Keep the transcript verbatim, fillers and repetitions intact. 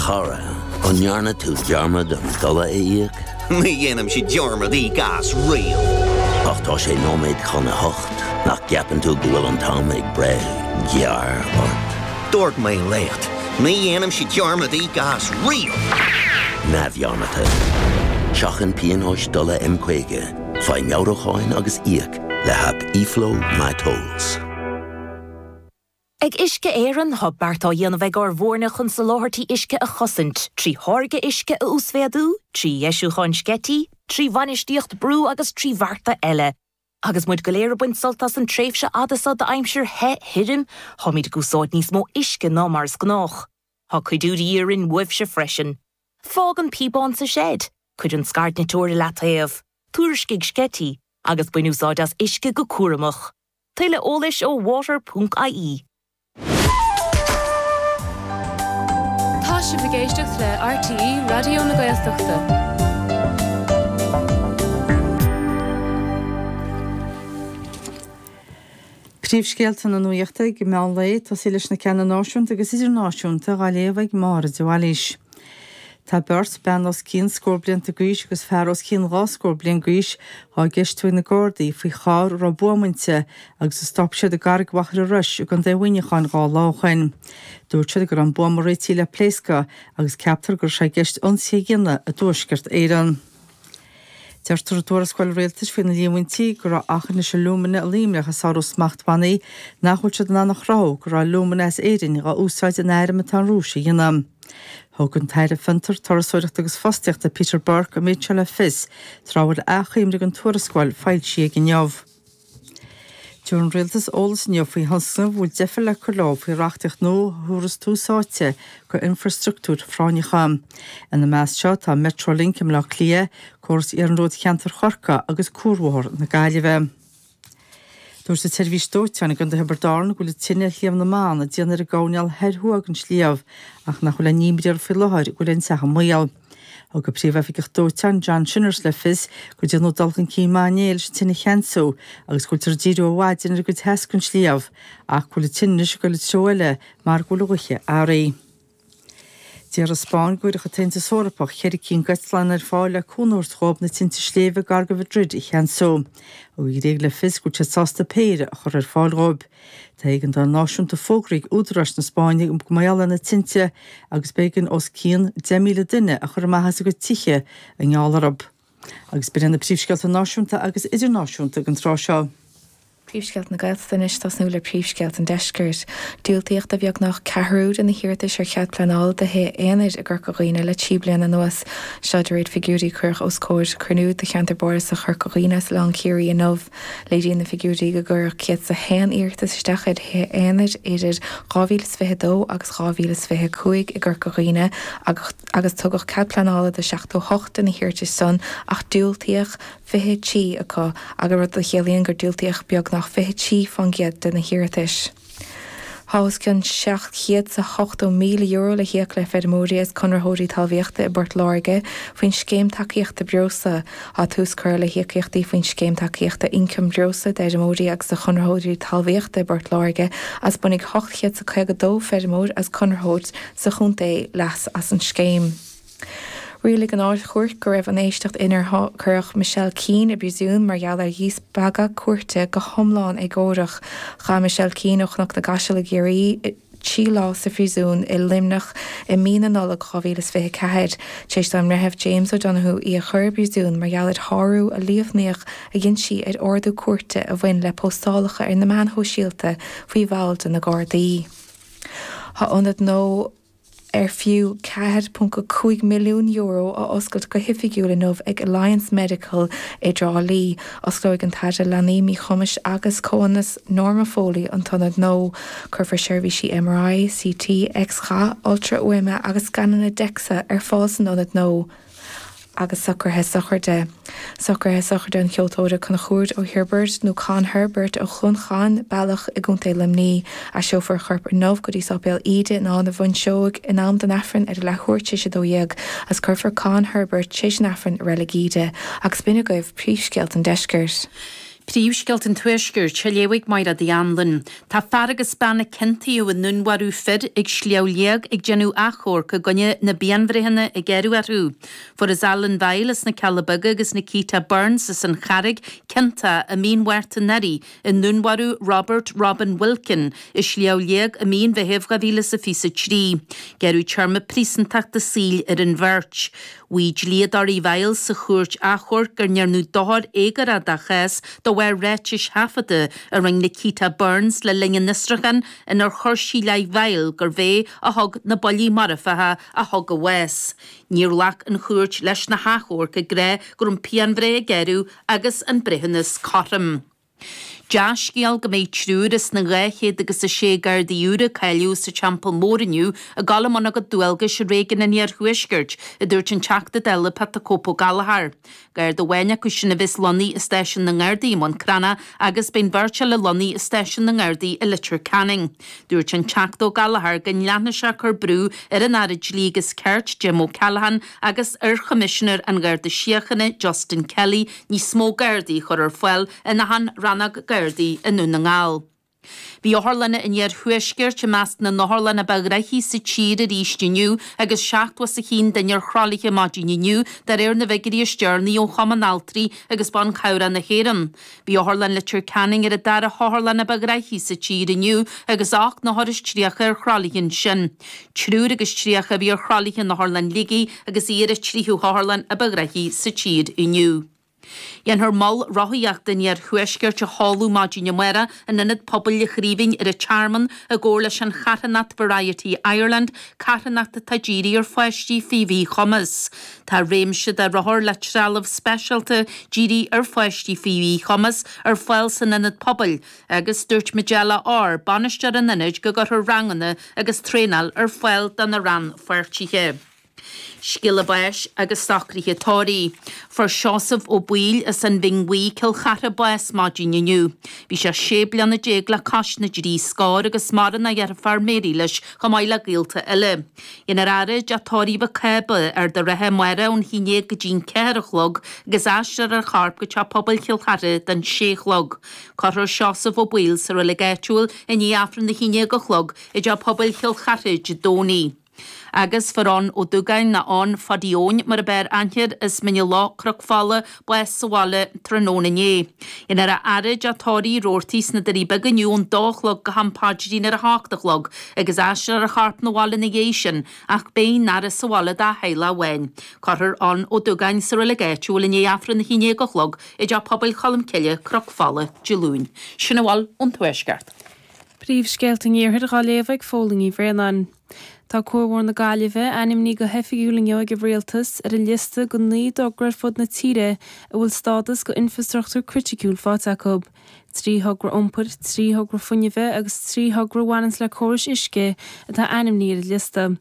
chara, an ndearna tú dearmad an dola a íoc? Ní dhéanaimse dearmad íoc as riamh. Ach tá sé nóiméad chun a hocht nach gceapann tú go bhfuil an t-am ag breith gearr ort. Dúirt mé leat, ní dhéanaimse dearmad íoc as riamh. Neamhdhearmadta. Seachain pionóis dola M caoga, faigh meabhrúcháin agus íoc le haip eFlow MyTolls. Ag Uisce Éireann tá beart á dhéanamh ag ár bhfoirne chun soláthairtí uisce a chosaint, trí tháirgeadh uisce a uasmhéadú, trí dheisiúcháin sceití, trí bhainistíocht brú agus trí bhearta eile. Agus muid go léir ag baint sult as an tréimhse fhada seo d'aimsir the thirim, táimid ag úsáid níos mó uisce ná mar is gnách. Tá cuidiú de dhíth orainn uaibhse freisin. Fág an píobán sa seid, cuir an scairdniteoir i leataobh, tuairiscigh sceití, agus bain úsáid as uisce go cúramach. Tuilleadh eolais ó water.ie. Tá sibh ag éisteacht le RTÉ Raidió na Gaeltachta. Príomhscéalta na nuachta ag meán lae tosaí leis na ceanna náisiúnta agus idirnáisiúnta á léamh ag Máire de Bhailís. Tá beirt bean os cionn scór blianta d'aois agus fear os cionn dhá scór bliain d'aois á gceistiú ag na Gardaí faoi charr a raibh buama inti agus a stop siad i gCarraig Mhachaire Rois i gContae Mhuineacháin dhá lá ó shin. Dúirt siad go raibh an buama réitithe le pléascadh agus ceaptar go raibh sé i gceist ionsaí a dhéanamh i dTuaisceart Éireann. Deirtear i dtuarascáil rialtais faoi na líomhaintí go raibh Aughinish Alumina i Luimneach ag sárú smachtbhannaí nach bhfuil siad in ann a chruthú go raibh alúmana as Éirinn dhá úsáid in airm atá an Rúis a dhéanamh. Thug an tAire Fiontar, Turasóireachta agus Fostaíochta Peter Burke an méid seo le fios tráth a bhfuil achoimre den tuarascáil foilsithe aige inniu. Tabharfaidh an Rialtas eolas inniu faoi thionscnaimh a bhfuil deifir le cur leo faoi reachtaíocht nua a thabharfas tús áite go infrastruchtúir phráinneacha. Ina measc seo tá Metrolink i mBleá Cliath, córas iarnróid cheantar Chorcaí agus Cuarbhóthar na Gaillimhe. Dúirt an tseirbhís dóiteáin i gContae Thiobraid Árann go bhfuil tine ar Shliabh na mBan ag déanamh ar an gcoirnéal thoir thuaidh den sliabh ach nach bhfuil aon imní orthu faoi láthair go bhfuil an teach i mbaol. Thug an príomhoifigeach dóiteáin John Shinnors le fios gur déanadh dul chun cinn maith inné leis an tine a cheansú agus go bhfuiltear ag díriú ar maidin ar an gcuid theas den sliabh ach go bhfuil an tine anois ag dul i dtreo eile mar go bhfuil an ghaoth athraithe. Deir an Spáinn go gcuirfeadh an tAontas Eorpach ceithre cinn d'eitleáin ar fáil le cúnamh a thabhairt dhóibh na tinte sléibhe gar do Mhadrid a cheansú. Thug an Ghréig le fios go bhfuil siad sásta péire a chur ar fáil dhóibh. Tá éigeandáil náisiúnta fógraithe ag údaráis na Spáinne go mar gheall ar na tinte agus b'éigean os cionn deich míle duine a chur amach as a gcuid tithe i ngeall orthu. Agus b'in iad na príomhscéalta náisiúnta agus idirnáisiúnta ag an tráth seo. Príomhscéalta na Gaeltachta anois tosnú le príomhscéalta an Deiscirt. Diúltaíodh do bheagnach ceathrú de na hiarratais ar chead pleanála do thithe aonair i gCorca Dhuibhne le trí bliana anuas. Seo de réir figiúirí a cuireadh os comhair cruinniú de cheantar bardasach Chorca Dhuibhne as Oileán Ciarraí inniu. Léiríonn na figiúirí go gcuireadh céad is a haon iarratas isteach ar thithe aonair idir dhá mhíle is fiche a dó agus dhá mhíle is fiche a cúig i gCorca Dhuibhne agus tugadh cead pleanála do seachtó a hocht de na hiarratais san ach diúltaíodh fiche trí acu, agus rud a chiallaíonn gur diúltaíodh beagnach fiche trí faoin gcéad de na hiarratais. Tá os cionn seacht chéad 's a hochtó míle euro le híoc le feirmeoirí agus conraitheoirí talmhaíochta i bPort Láirge faoin Scéim Tacaíochta Breosla. Tá tús curtha le híocaíochtaí faoin Scéim Tacaíochta Ioncaim Breosla d'fheirmeoirí agus do chonraitheoirí talmhaíochta i bPort Láirge agus bainfidh ocht chéad 's a caoga dó feirmeoir agus conraitheoir sa chontae leas as an scéim. Rialaigh an Ard-Chúirt go raibh an éisteacht inar cuireadh Michelle Keane i bpríosún mar gheall ar dhíspeagadh cúirte go hiomlán éagórach. Chaith Michelle Keane ó Chnoc na gCaiseal i gCiarraí trí lá sa phríosún i Luimneach i mí na Nollag dhá mhíle is fiche a ceathair, tar éis don mBreitheamh James O'Donoghue í a chur i bpríosún mar gheall ar shárú a líomhnaíodh a dhein sí ar ordú cúirte a bhain le póstálacha ar na meáin shóisialta faoi bhall de na Gardaí. Tá ionad nua ar fiú ceathair ponc cúig milliún euro á oscailt go hoifigiúil inniu ag Alliance Medical i dTrá Lí. Osclóidh an tAire Leanaí, Míchumais agus Comhionannais Norma Foley an t-ionad nua. Cuirfear seirbhísí MRI, CT, X-gha, ultrafhuaime agus scananna DEXA ar fáil san ionad nua. agus socruithe sochraide. Socruithe sochraide an cheoltóra Conchúr Ó Hiorbairt, nó Con Herbert ó Chluain Chairn, Bealach i gContae Luimnigh. Aistreofar a chorp inniu go dtí Sáipéal Íde in Áth na bhFuinseog in am don Aifreann ar a leathuair tar éis a dó dhéag agus cuirfear Con Herbert tar éis an Aifrinn i Reilig Íde. Agus b'in agaibh príomhscéalta an deiscirt. Príomhscéalta an Tuaiscirt á léamh ag Máire Uí Anluain. Tá fear agus bean a ciontaíodh i ndúnmharú fir ag Sliabh Liag ag déanamh achomharc i gcoinne na bpianbhreitheanna a gearradh orthu. Fuarthas Alan Vile as na Cealla Beaga agus Nikita Burns as an Charraig ciontach i mí an Mhárta anuraidh i ndúnmharú Robert Robin Wilkin i Sliabh Liag i mí an Mheithimh dhá mhíle is a fiche a trí. Gearradh téarma príosúntachta saoil ar an bheirt. Mhaígh dlíodóirí Vile sa chúirt achomhairc go ndearnadh dochar éagórach dá chás de bharr ráitis thaifeadta a rinne Nikita Burns le linn an fhiosrúcháin inar chuir sí i leith Vile gurbh é a thug na buillí marfacha a thug a bhás. Níor ghlac an chúirt leis na hachomhairc ag rá go raibh an pianbhreith a gearradh agus an breithiúnas cothrom. Dea-scéal go mbeidh triúr as na dhá chéad agus a sé Gardaí úr a cáilíodh sa Teampall Mór inniu ag dul i mbun a gcuid dualgais i réigiún an Iarthuaiscirt, a dúirt an Teachta Dála Pat the Cope Ó Gallchóir. Garda amháin acu sin a bheas lonnaithe i stáisiún na nGardaí i mBun Cranncha agus beidh an bheirt eile lonnaithe i stáisiún na nGardaí i Leitir Ceanainn. Dúirt an Teachta Ó Gallchóir go leanfaidh sé ag cur brú ar an Aire Dlí agus Cirt Jim O'Callaghan agus ar Choimisinéir an Gharda Síochána Justin Kelly níos mó Gardaí a chur ar fáil in achan rannóg Gardaí i nDún na nGall. Bhí otharlanna an Iarthuaiscirt i measc na n-otharlann ba ghnoithí sa tír arís inniu agus seachtó is a haon duine ar thralaithe maidin inniu de réir na bhfigiúirí is deireanaí ó Chumann Altraí agus Ban Cabhrach na hÉireann. Bhí Otharlann Leitir Ceanainn ar an dara hotharlann ba ghnoithí sa tír inniu agus ocht n-othar is tríocha ar thralaithe ansin. Triúr agus tríocha a bhí ar thralaithe in Otharlann Shligigh agus í ar an tríú hotharlann ba ghnoithí sa tír inniu. Déanfar mol rothaíochta an Iarthuaiscirt a sheoladh maidin amárach in Ionad Pobail an Chraoibhín ar an Tearmann i gcomhar leis an charthanacht Variety Ireland, carthanacht atá dírithe ar pháistí faoi mhíchumas. Tá réimse de rothair le trealamh speisialta dírithe ar pháistí faoi mhíchumas ar fáil san Ionad Pobail agus dúirt Majella Orr, bainisteoir an ionaid, go gcuirfear ranganna agus traenáil ar fáil do na rannpháirtithe. Scéala báis agus socruithe tórraimh. Fuair Seosamh Ó Baoill as an Bhinn Bhuí, Cill Chartha bás maidin inniu. Bhí sé sé bliana déag le cois na dtrí scór agus maireann a dheirfiúr Mary leis chomh maith le gaolta eile. Déanfar a fhaire i dteach tórraimh Mhic Cába, Ard an Rátha amárach ón haon déag go dtí'n ceathair a chlog agus aistreofar a chorp go teach pobail Chill Chartha don sé a chlog. Cuirfear Seosamh Ó Baoill sa reilig áitiúil i ndiaidh Aifreann a haon déag a chlog i dteach pobail Chill Chartha Dé Domhnaigh. Agus fuair Eoin Ó Dúgáin nó Eoin Phadaí Eoin mar ab fhearr aithne air as Mín an Loch, Cnoc Fola, bás sa bhaile tráthnóna inné. Déanfar a fhaire i dteach tórraimh Roarty sna Doirí Beaga inniu ón dó a chlog go ham paidrín ar a hocht a chlog agus aistreofar a chorp 'na bhaile ina dhiaidh sin ach beidh an fhaire sa bhaile dá theaghlach amháin. Cuirfear Eoin Ó Dúgáin sa reilig áitiúil i ndiaidh Aifreann a haon déag a chlog i dteach pobail Cholm Cille, Cnoc Fola, Dé Luain. Sin a bhfuil ón Tuaisceart. Príomhscéalta an Iarthair á léamh ag Fódhla Ní Bhraonáin. Tá Cuar Mhór na Gaillimhe ainmnithe go hoifigiúil inniu ag an Rialtas ar an liosta de naoi dtogra ar fud na tíre a bhfuil stádas go infreastruchtúr criticiúil faighte acu. Trí thogra iompair, trí thogra fuinnimh agus trí thogra a bhaineanns le córais uisce atá ainmnithe ar an liosta.